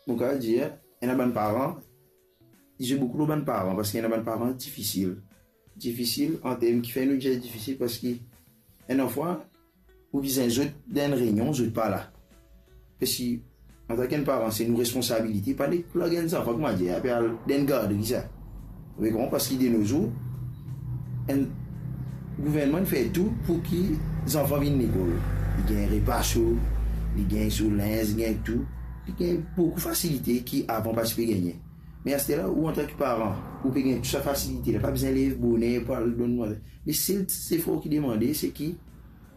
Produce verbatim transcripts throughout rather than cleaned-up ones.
Mo kapav dir, ena bann paran, li zwe boukou lor bann paran, parski ena bann paran difisil. Difisil an term ki fer nou dir difisil, parski ena fwa, ou bizin zot dan enn reynion, zot pa la. Parski, antanki enn paran, se nou responsabilite, pa nek pou larg enn zanfan, kouma dir, apre al dan enn gardri, sa. Ou konpran, parski de no zour, enn gouvernman fer tou pou ki zanfan vinn lekol. Li gagn repa so, li gagn so linz, li gagn tou. Li gagn boukou fasilite ki avan pa ti pe gagne. Me aster la, ou antanki paran, ou pe gagn tou sa fasilite la, pa bizin lev boner pou al donn mwa. Me sel ti zefor ki demande, se ki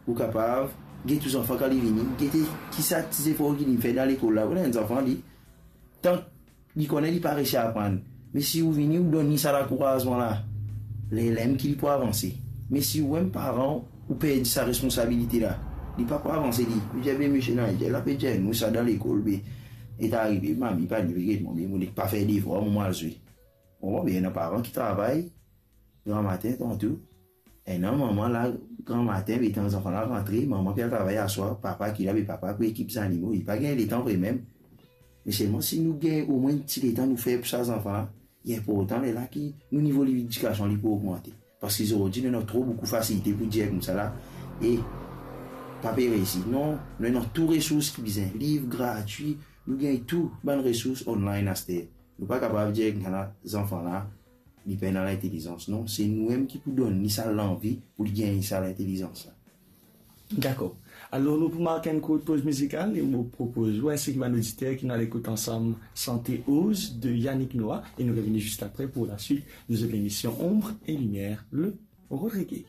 ou kapav get ou zanfan kan li vini, gete ki sa ti zefor ki li fer dan lekol la. Ou ena enn zanfan, li, tan li kone li pa resi aprann, me si ou vini, ou donn li sa lankourazman la, lerla mem ki li pou avanse. Me si ou enn paran, ou perdi sa responsabilite la, li pa pou avanse, li, li dir, "Be misie, non, li dir, la pe dir nou sa dan lekol, be, e ta arive, mami pa ni get mwa, be, mo nek pa fer devwar, mo al zwe." Bon, be, ena paran ki travay gramatin, tanto, ena manman la, gramatin, be, tan zanfan la rantre, manman pe al travay aswar, papa ki la, be, papa pou ekip zanimo, li pa gagn letan vre mem. Me selman si nou gagn omwin ti letan nou fer pou sa zanfan la, li inportan lerla ki nou nivo ledikasion li pou ogmante. Parski zordi, nou ena tro boukou fasilite pou dir koumsa la, e pa pe resi. Non, nou ena tou resours ki bizin, liv gratwi, nou gagn tou bann resours online aster. Nou pa kapav dir koumsa la, zanfan la, li pena lintelizans. Non, se nou mem ki pou donn li sa lanvi pou li gagn sa lintelizans la. Dakor. Alor, nou pou mark enn kourt poz mizikal e mo propoz ou, ensi ki bann oditer, ki nou al ekout ansam Sante Oz de Yannick Noah, e nou revini zis apre pou laswit de zot lemision Ombre et Lumière, le Rodriguez.